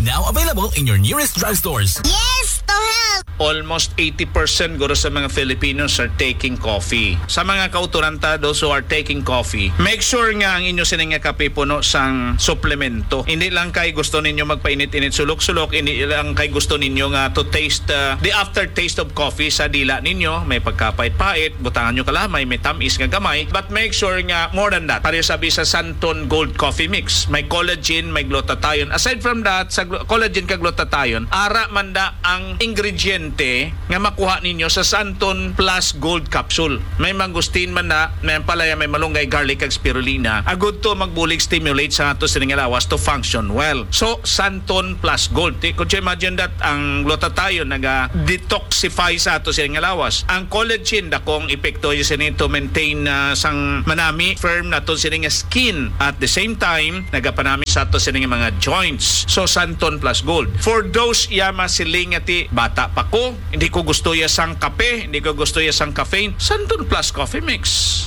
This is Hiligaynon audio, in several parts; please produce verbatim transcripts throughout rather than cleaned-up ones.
Now available in your nearest drugstores. Yes to help! Almost eighty percent guro sa mga Filipinos are taking coffee. Sa mga kauturan ta, those who are taking coffee, make sure nga ang inyo sini nga kape puno sang suplemento. Hindi lang kay gusto ninyo magpainit-init sulok-sulok, hindi lang kay gusto ninyo nga to taste, uh, the aftertaste of coffee sa dila ninyo. May pagkapait-pait, butangan nyo kalamay, may tamis nga gamay. But make sure nga more than that. Pareho sabi sa Santon Gold Coffee Mix, may collagen, may glutathione. Aside from that, sa glu- collagen kag glutathione, ara man da ang ingrediente nga makuha ninyo sa Santon Plus Gold Capsule. May mangosteen man na, may ampalaya, may malunggay, garlic, kag spirulina. Agud to magbulig stimulate sa ato sining lawas to function well. So, Santon Plus Gold. Ti-, could you imagine that ang glutathione naga-detoxify sa ato sining lawas? Ang collagen, dakong epekto yun sini to maintain, ah, sang manami, firm nato sini nga skin. At the same time, nagapanami sa ato sini nga mga joints. So, Santon Plus Gold. For those iya masiling nga ti, "Bata pa ko, hindi ko gusto ya sang kape, hindi ko gusto ya sang caffeine," Santon Plus Coffee Mix.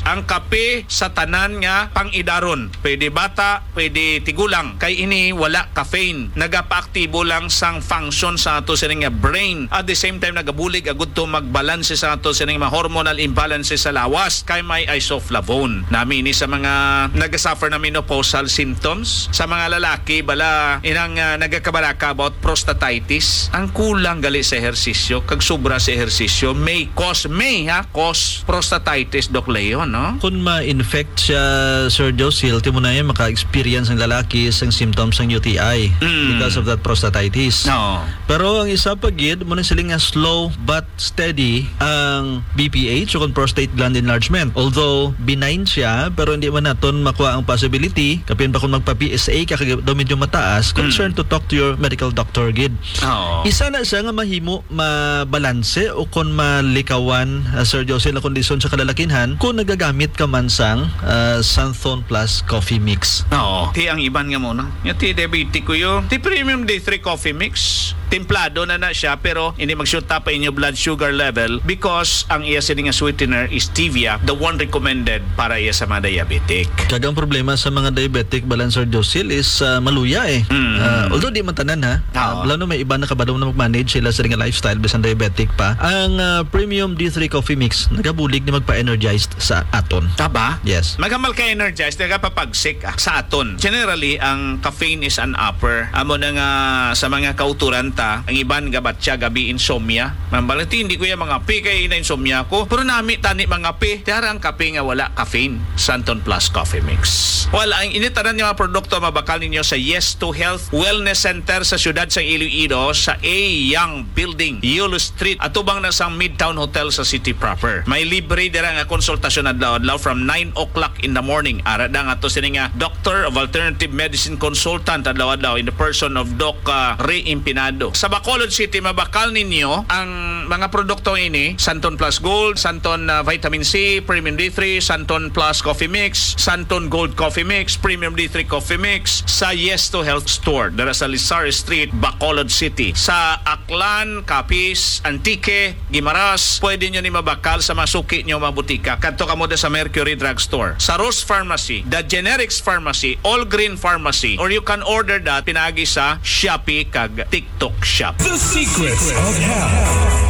Ang kape sa tanan nga pang-idaron. Pwede bata, pwede tigulang. Kay ini wala caffeine. Nagapaaktibo lang sang function sa ato sini nga brain. At the same time, nagabulig agud to magbalanse sa ato sini nga hormonal imbalance sa lawas. Kay may isoflavone. Nami ini sa mga nagasuffer na menopausal symptoms. Sa mga lalaki, bala, inang, ah, nagakabaraka about prostatitis. Ang kulang gali sa ehersisyo, kag sobra sa ehersisyo, may cause, may, ha, cause prostatitis, Doc Leo, no? Kung ma-infect siya, Sir Josil, timo na yan, maka-experience ang lalaki sang symptoms sang U T I Mm. because of that prostatitis. No. Pero ang isa pa gid, mo na sila nga slow but steady ang B P H o kung prostate gland enlargement. Although benign siya, pero hindi man naton makuha ang possibility, kapin pa kung magpa-P S A ka, kag daw medyo mataas, concern Mm. to talk to your medical doctor gid. Oo. Isa na siya nga mahimo mabalanse o kon malikawan, ah, Sir Josil, ang kondisyon sa kalalakinhan kung nagagamit ka man sang, ah, Santhon Plus Coffee Mix. Oo. Ti ang iban nga mo na. Nga ti diabetic ko yo. Ti Premium D three Coffee Mix. Templado na na siya, pero hindi magsyuta pa inyo blood sugar level because ang iya sini nga sweetener is stevia, the one recommended para iya sa mga diabetic. Kag ang problema sa mga diabetic, balan, Sir Josil, is, ah, maluya eh. Mm. Ah, although di man tanan, ha. Ah, Oo. Lalo may iba na kabalo na mag-manage sila sa nga lifestyle bisan diabetic pa. Ang, ah, Premium D three Coffee Mix nagabulig ni magpa-energized sa aton. Taba? Yes. Magamal ka energized, nagapapagsik, ah, sa aton. Generally, ang caffeine is an upper. Amo na nga sa mga kauturan ta, ang iban gabatya gabi insomnia. Mambalati, hindi ko yung mga api kay na insomnia ko. Pero nami tani mga api. Tiara ang kape nga wala caffeine. Santon Plus Coffee Mix. Well, ang initanan nga mga produkto mabakal ninyo sa Yes to Health Wellness Center sa siyudad sa Iloilo sa A Young Building, Yulo Street, atubang na sang Midtown Hotel sa city proper. May libre dira nga konsultasyon adlaw-adlaw from nine o'clock in the morning. Ara da nga to sini nga Doctor of Alternative Medicine Consultant adlaw-adlaw in the person of Doc, ah, Ray Impinado. Sa Bacolod City, mabakal ninyo ang mga produkto ini, Santon Plus Gold, Santon, ah, Vitamin C, Premium D three, Santon Plus Coffee Mix, Santon Gold Coffee Mix, Premium D three Coffee Mix, sa Yes to Health Store, dira sa Lizar Street, Bacolod City. Sa Aklan, Capiz, Antique, Guimaras, pwede nyo ni mabakal sa mga suki nyo, mga butika. Kadto kamo da sa Mercury Drugstore, sa Rose Pharmacy, The Generics Pharmacy, All Green Pharmacy, or you can order that pinagi sa Shopee kag TikTok Shop. The Secrets of Health.